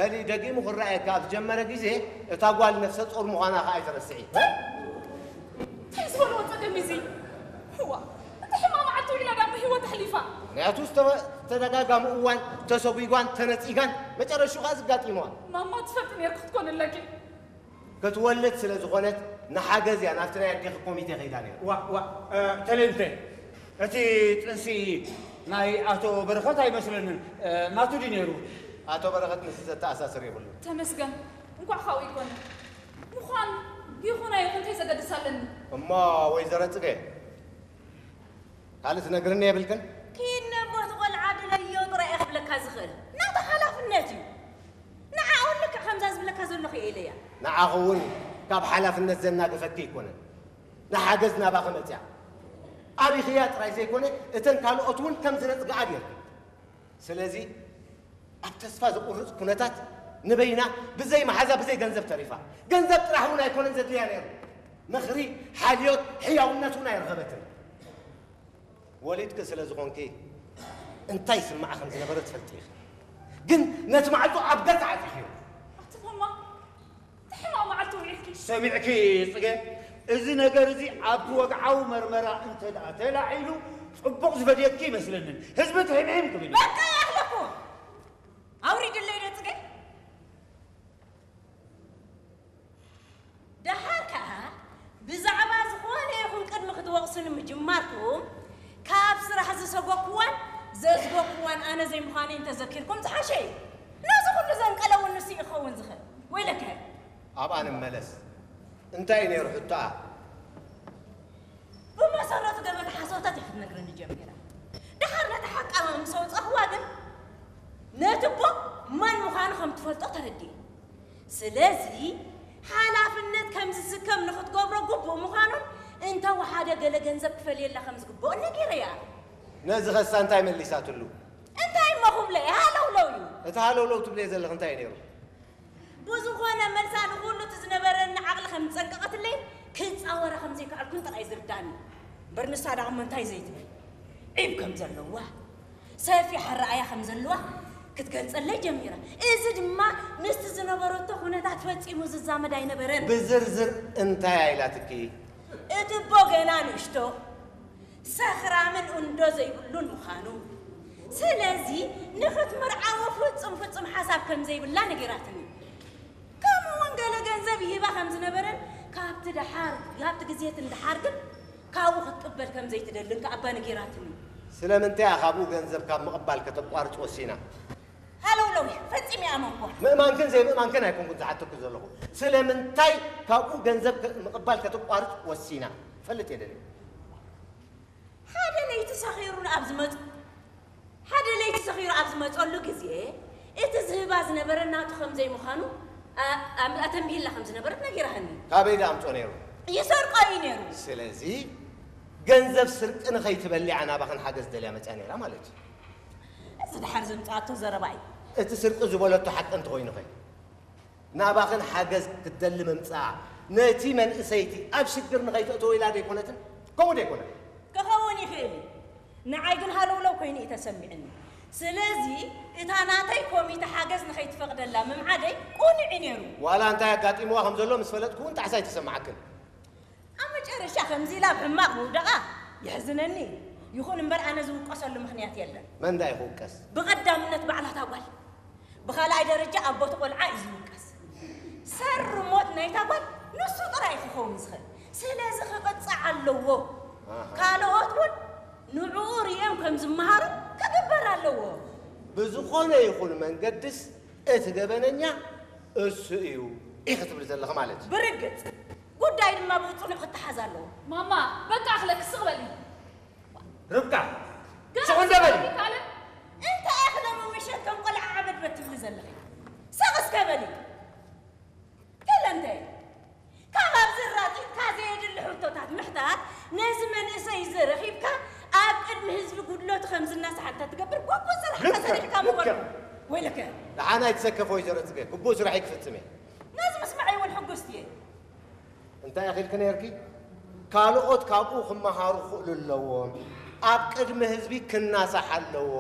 በሊ፣ ደጊሙ ክረኣየካ ኣብ ዝጀመረ ግዜ እታ ጓል ነፍሰ ጾር ምዃና ከኣ ኣይትረስዒ። እንታይ ዝበልዎ ጸገም እዚ? እዋ፣ እቲ ሕማቕ መዓልቲ ውዒላ ዳሞ ህይወት ኣሕሊፋ። ምኽንያቱ ዝተወ- ዝተደጋጋሚ እዋን ተሰጒጓን ተነጺጋን መጨረሽኡ ከኣ ዝጋጢምዋ። ማማ ትፈልጢ ነይርኪ ክትኮኒ ኣለኪ። ክትወልድ ስለ ዝኾነት ንሓገዝ እያ ናብቲ ናይ ኣዴኺ ኮሚቴ ከይዳ ነይራ። ዋ ዋ ተሌንተ፣ እቲ ጥንሲ ናይ ኣቶ በረኸት ኣይመስለንን። ናቱ ድዩ ነይሩ? ኣቶ በረኸት ምስ ዘተኣሳስር የብሉን። ተመስገን እንኳዕ ካብኡ ይኮነ። ምዃን ይኹን ኣይኹን እንታይ ዘገድስ ኣለኒ? እሞ ወይዘሮ ጽገ ካልእ ትነግርኒ የብልክን? ኪድ ነቦ እቲ ቆልዓ ድለዮ ጥራይ እየ ክብለካ ዝኽእል። ናቱ ሓላፍነት እዩ። ንዓኡ ልክዕ ከምዛ ዝብለካ ዘለኹ እየ ኢለያ። ንዓኺ እውን ካብ ሓላፍነት ዘናግፈኪ ኣይኮነን። ንሓገዝ ናባኺ መፅያ ኣቢኽያ ጥራይ ዘይኮነ እተን ካልኦት እውን ከም ዝነፅግኣ ጌርኪ። ስለዚ ኣብ ተስፋ ዘቑርፅ ኩነታት ንበይና ብዘይ መሓዛ ብዘይ ገንዘብ ተሪፋ። ገንዘብ ጥራሕ እውን ኣይኮነን ዘድልያ ነይሩ። ምኽሪ፣ ሓልዮት፣ ሕያውነት እውን ኣይረኸበትን። ወሊድኪ ስለ ዝኾንኪ እንታይ ይስምዓ ከም ዝነበረ ትፈልጢ ኢኺ። ግን ነቲ ማዕጾ ኣብ ገጽ ዓጺኽዮ። ኣቲ ማማ እቲ ሕማቕ መዓልቲ ውዒልኪ። ሰሚዕኪ ጽገ፣ እዚ ነገር እዚ ኣብቲ ወግዓዊ መርመራ እንተ ደኣ ተላዒሉ ጽቡቕ ዝፈድየኪ ይመስለንን። ህዝቢ ትሒምሒም ክብል እዩ። በቃ ይኣኽለኩም። ኣውሪድለይ ዶ ጽገ? ደሓር ከኣ ብዛዕባ ዝኾነ ይኹን ቅድሚ ክትወቕሱኒ ምጅማርኩም ካብ ስራሕ ዝሰጎኩዋን ዘዝጎኩዋን ኣነ ዘይምዃነይ እንተዘኪርኩም ዝሓሸ እዩ። ነዚ ኩሉ ዘንቀለ እውን ንሱ እዩ ክኸውን ዝኽእል። ወይለከ! ኣብኣ ንመለስ። እንታይ እዩ ነይሩ ሕቶኣ? ብመሰረቱ ገበታ ሓሶታት እያ ክትነግረኒ ጀሚራ። ደሓር ነቲ ሓቃ ምስ ኣውጻእኽዋ ግን ነቲ ኣቦ መን ምዃኑ ከም ትፈልጦ ተረዲኤ። ስለዚ ሓላፍነት ከም ዝስከም ንኽትገብሮ ግቡእ ምዃኑን እንተ ወሓደ ገለ ገንዘብ ክፈልየላ ከም ዝግብኦን ነጊረያ። ነዚ ኸሳ እንታይ መሊሳትሉ? እንታይ እሞ ክብሎ እየ ሃለውለው እዩ። እቲ ሃለውለው ትብልዮ ዘለኺ እንታይ እዩ ነይሩ? ብዝኾነ መልሳ ንኹሉ እቲ ዝነበረኒ ዓቕሊ ከም ዝጸንቀቐትለይ ክጻወራ ከም ዘይከኣልኩን ጥራይ ዝርዳኒ። እምበር ንሳ ደኣ እሞ እንታይ ዘይትብል ዒብ ከም ዘለዋ ሰፊሕ ኣረኣእያ ከም ዘለዋ ክትገልጸለይ ጀሚራ። እዚ ድማ ምስቲ ዝነበረቶ ኩነታት ፈጺሙ ዝዛመድ ኣይነበረን። ብዝርዝር እንታይ ኢላትኪ? እቲ ኣቦ ገና ንእሽቶ ሰኽራምን እንዶ ዘይብሉን ምዃኑ፣ ስለዚ ንኽትምርዓዎ ፍጹም ፍጹም ሓሳብ ከም ዘይብላ ነጊራትኒ። ከምኡ እውን ገለ ገንዘብ ይህባ ከም ዝነበረን ካብቲ ደሓር ካብቲ ግዜት ንደሓር ግን ካብኡ ክትቅበል ከም ዘይትደልን ከኣ ኣባ ነጊራትኒ። ስለምንታይ እያ ካብኡ ገንዘብ ካብ ምቕባል ከተቋርጽ ወሲና? ሃለውለው ፈጺመ ይኣመንኳ። ምእማንክን ዘይምእማንክን ኣይኮንኩን ዝሓተኩ ዘለኹ። ስለምንታይ ካብኡ ገንዘብ ምቕባል ከተቋርጽ ወሲና? ክፈልጥ እየ ደልየ። ሓደ ለይቲ ሰኺሩ ኣብ ዝመጽ ሓደ ለይቲ ሰኺሩ ኣብ ዝመጸሉ ግዜ እቲ ዝህባ ዝነበረ ናቱ ከም ዘይምዃኑ ኣተንቢህላ ከም ዝነበረት ነጊራሃኒ። ካበይ ደኣ ኣምጾ ነይሩ? ይሰርቆ እዩ ነይሩ። ስለዚ ገንዘብ ስርቂ ንኸይትበሊ እያ ናባኽን ሓገዝ ደልያ መጽያ ነይራ ማለት እዩ። እዚ ደሓር ዘምጽኣቶ ዘረባ እዩ። እቲ ስርቂ ዝበለቶ ሓቂ እንተኾይኑ ኸ? ናባኽን ሓገዝ ክትደሊ ምምጽኣ ነቲ መንእሰይቲ ኣብ ሽግር ንኸይተእትዎ ኢላ ደይኮነትን? ከምኡ ደይኮነን? ክኸውን ይኽእል እዩ። ንዓይ ግን ሃለውለው ኮይኑ እዩ ተሰሚዕኒ። ስለዚ እታ ናተይ ኮሚተ ሓገዝ ንኸይትፈቕደላ ምምዓደይ ቅኑዕ እዩ ነይሩ። ዋላ እንታይ ኣጋጢምዋ ከም ዘሎ ምስ ፈለጥኩ እውን ጣዕሳ ኣይተሰምዓክን። ኣብ መጨረሻ ከምዚ ኢላ ኣብ ሕማቕ ምውደቓ የሕዝነኒ እዩ። ይኹን እምበር ኣነ ዝውቀሰሉ ምኽንያት የለን። መን ደኣ እዩ ክውቀስ? ብቐዳምነት ባዕላ እታ ጓል፣ ብኻልኣይ ደረጃ ኣቦ እቲ ቆልዓ እዩ ዝውቀስ። ሰሪ ሞት ናይታ ጓል ንሱ ጥራይ እዩ ክኸውን ዝኽእል። ስለዚ ክቕጻዕ ኣለዎ። ካልኦት እውን ንዕኡ ሪኦም ከም ዝመሃሩ ክግበር ኣለዎ። ብዝኾነ ይኹን መንገድስ እቲ ገበነኛ እሱ እዩ ኢኺ ትብሊ ዘለኺ ማለት እዩ። ብርግጽ ጉዳይ ድማ ብጽኑዕ ክተሓዝ ኣለዎ። ማማ በቃ ኣኽለኪ ስቕ በሊ። ርብቃ ስቕ እንዶ በሊ። እንታይ ኢኺ ሎሚ ምሸት ከም ቆልዓ ዓበድበድ ትብሊ ዘለኺ? ስቕ እስከ በሊ። ገለ እንተ ካብ ኣብዚ ራጢጥካ ዘየድሊ ሕቶታት ምሕታት ነዚ መንእሰይ እዚ ረኺብካ ኣብ ቅድሚ ህዝቢ ጉድለቱ ከም ዝናሳሕ እንተትገብር ግቡእ ስራሕካ ሰሪሕካ ምበር ወይለከ። ደሓን ኣይትሰከፊ ወይዘሮ ጽገ፣ ግቡእ ስራሐይ ክፍጽም እየ። ነዚ ምስማዐይ እውን ሕጉስቲ እየ። እንታይ ኢኺ ኢልኪ ነይርኪ? ካልኦት ካብኡ ክመሃሩ ክኽእሉ ኣለዎም። ኣብ ቅድሚ ህዝቢ ክናሳሕ ኣለዎ።